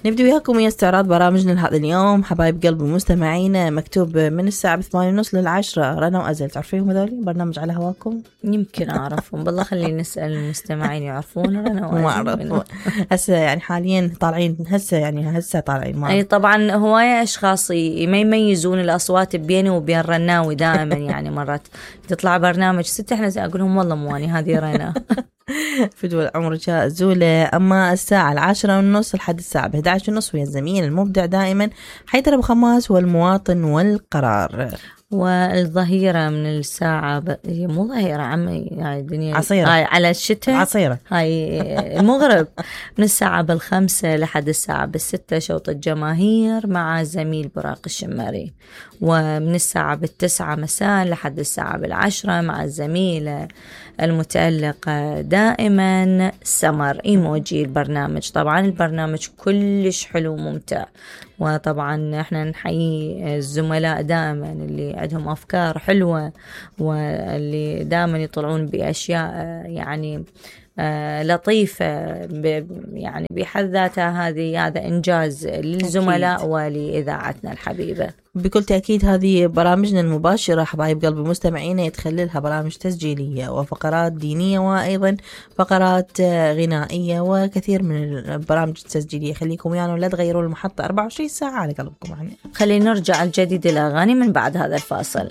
نبدأ وياكم ويا استعراض برامجنا لهذا اليوم. حبايب قلبي مستمعين، مكتوب من الساعة 8:30 ل10 رنا وأزل. تعرفيهم هذول برنامج على هواكم؟ يمكن أعرفهم بالله، خلينا نسأل المستمعين يعرفون رنا وأزل. ما أعرف هسه يعني حاليا طالعين هسه طالعين أي طبعا هواية أشخاص ما يميزون الأصوات بيني وبين رناوي دائما. يعني مرات تطلع برنامج ست احنا أقول لهم والله مواني هذه رنا. فدوى عمرك زولة. أما الساعة 10:30 لحد الساعة 11:30 ويا الزميل المبدع دائما حيدر أبو خماس والمواطن والقرار. والظهيرة من الساعة مو ظهيرة عمي، هاي الدنيا عصيرة، هاي على الشتاء عصيرة، هاي المغرب من الساعة 5 لحد الساعة 6 شوط الجماهير مع زميل براق الشماري. ومن الساعة 9 مساء لحد الساعة 10 مع الزميل المتألق دائما سمر إيموجي البرنامج. طبعا البرنامج كلش حلو وممتع، وطبعا احنا نحيي الزملاء دائما اللي عندهم أفكار حلوة واللي دائما يطلعون بأشياء يعني لطيفة يعني بحد ذاتها. هذا إنجاز للزملاء أكيد. ولإذاعتنا الحبيبة بكل تأكيد. هذه برامجنا المباشرة حبايب قلبي مستمعين يتخللها برامج تسجيلية وفقرات دينية وأيضا فقرات غنائية وكثير من البرامج التسجيلية. خليكم يعني ولا تغيروا المحطة 24 ساعة على قلبكم. يعني خلينا نرجع الجديد الأغاني من بعد هذا الفاصل.